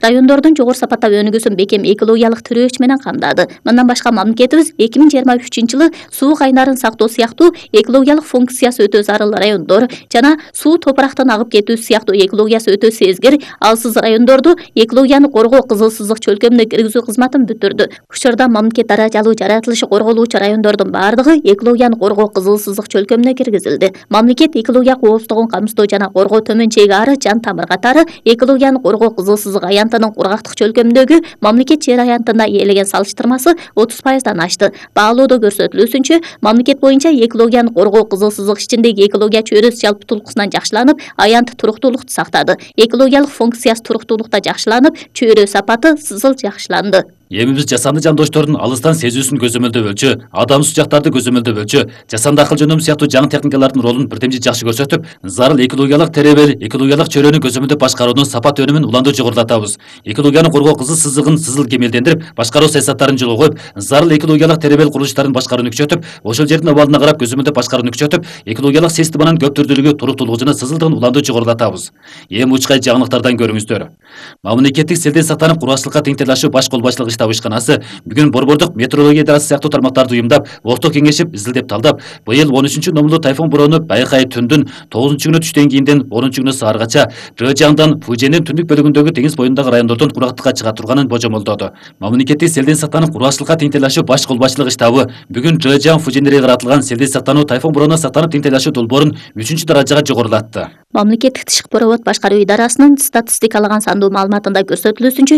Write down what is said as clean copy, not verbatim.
Райондордун жогору сапаттагы өнүгүүсүн бекем экологиялык тирөөч менен камдады. Мындан башка мамлекетибиз 2023-жылы суу кайнарын сактоо сыяктуу экологиялык функциясы өтө зарыл райондор жана суу топурактан агып кетүү сыяктуу экологиясы өтө сезгир алсыз райондорду экологияны коргоо кызыл сызык чөлкөмүнө киргизүү кызматын бүтүрдү. Учурда мамлекет даражалуу жаратылышы корголуучу райондордун баардыгы экологияны коргоо кызыл сызык чөлкөмүнө киргизилди. Мамлекет экология коопсуздугун камсыздоо жана коргоо төмөн чеги ары жан тамыр катары экологияны коргоо кызыл сызык аянтынын кургактык чөлкөмүндөгү мамлекет жер аянтына ээлеген салыштырмасы 30%дан ашты. Баалоодо көрсөтүлүүсүнчө, мамлекет боюнча экологияны коргоо кызыл сызык ичиндеги экология чөйрөсү жалпытуулукусунан жакшыланып, аянт туруктуулукту сактады. Экологиялык функциясы туруктуулукта жакшыланып, чөйрө сапаты сызыл жакшыланды. Эми биз жасанды жандоштордун алыстан сезүүсүн көзөмөлдөбөлчү, адамсыз жактарды көзөмөлдөбөлчү, жасанды акыл жөнөм сыяктуу жаңы техникалардын ролун бирдемчи жакшы көрсөтүп, зарыл экологиялык теребел, экологиялык чөйрөнү көзөмөлдөп башкаруунун сапат өнүмүн уланды жогорулатабыз. Экологияны коргоо кызыл сызыгын сызыл кемелдендирип, башкаруу саясаттарын жолго коюп, зарыл экологиялык теребел курулуштарын башкарууну күчөтүп, ошол жердин абалына карап көзөмөлдөп башкарууну күчөтүп, экологиялык системанын көп түрдүүлүгү, туруктуулугу жана сызылдыгын уланды жогорулатабыз. Эми учкай жаңылыктардан көрүңүздөр. Мамлекеттик селден сактанып кургакчылыкка тең тилашуу баш кол башчылык штаб ишканасы бүгүн Борбордук метеорология идарасы сыяктуу тармактарды уюмдап, орток кеңешип, изилдеп талдап, быйыл 13 номурлуу тайфун бороону Байкай түндүн 9-күнү түштөн кийинден 10-күнү сааргача Жэжаңдан Фуженин түндүк бөлүгүндөгү деңиз боюндагы райондордон кургактыкка чыга турганын божомолдоду. Мамлекеттик селден сактанып кургакчылыкка тең тилашуу баш кол башчылык штабы бүгүн Жэжаң Фуженире каратылган селден сактануу тайфун бороону сактанып тең тилашуу долбоорун 3-даражага жогорулатты. Мамлекеттик тышкы провод башкаруу идарасынын статистикалаган сандуу маалыматында көрсөтүлүүсүнчө